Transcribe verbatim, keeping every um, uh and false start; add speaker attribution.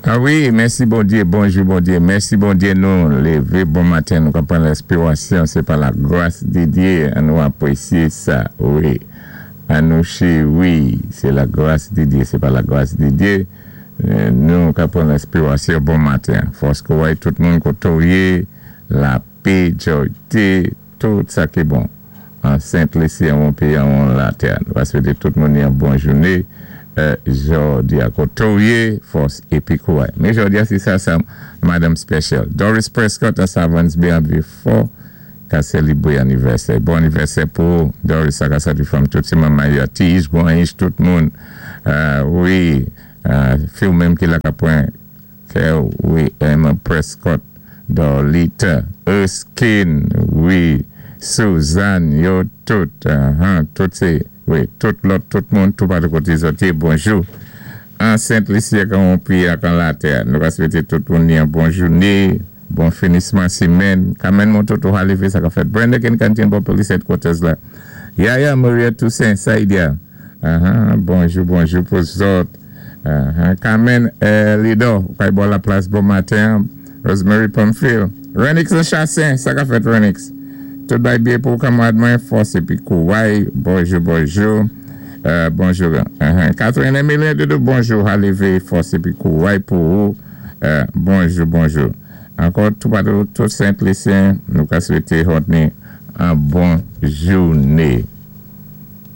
Speaker 1: Ah wi, mèsi Bondyé, bonjou Bondyé, mèsi Bondyé nou lévé bon maten, nou ka pran lespirasyon, sé pa la gras di Dyé, annou apwésyé sa, wi. Annou chéwi, sé la gras di Dyé, sé pa la gras di Dyé, nou ka pran lespirasyon bon maten. Fòs kouray tout moun koto yé, lapè, djoyté, tout sa ki bon. An Sent-Lisi, an péyi, an latè. Nou va swété tout moun yon bon jouné. Jòdi a koto yé, fòs épi kouray. Men jòdi a sé sa sa Madame Special. Doris Prescott a Savans Bay an Vieux-Fort ka sélébwé anivèsè. Bon anivèsè pou Doris sa ka soti fanmi tout sé manman yo ti gran tout moun. Wi, fi ou menm ki la ka pran kè wi, Emma Prescott, Dorlita, Erskine, wi, Suzanne, yo tout, tout sé wi, tout lòt, tout moun, tout patou koté zòt yé, bonjou. An Sent-Lisi kan on péyi ak an latè. Nou va swété tout moun yon bon jouné, bon finisman simenn. Kamen moun tout ou halivé sa ka fèt. Brenda Ken Kantin bò police headquarters la. Yaya Maria Toussaint, Saïdia. Bonjou, bonjou pou zòt. Carmen Lido, kay bò la plas bon maten. Rosemary Pamphile. Renix Chassin, sa ka fèt Renix. Tout bay byen pou kanmarad mwen, fòs épi kouray, bonjou, bonjou. Bonjou. Catherine Emilien Doudou, bonjou. Halivé, fòs épi kouray pou ou. Bonjou, bonjou. Ankò, tout patou, tout Sent-Lisyen, nou ka swété Rodney yon bon jouné.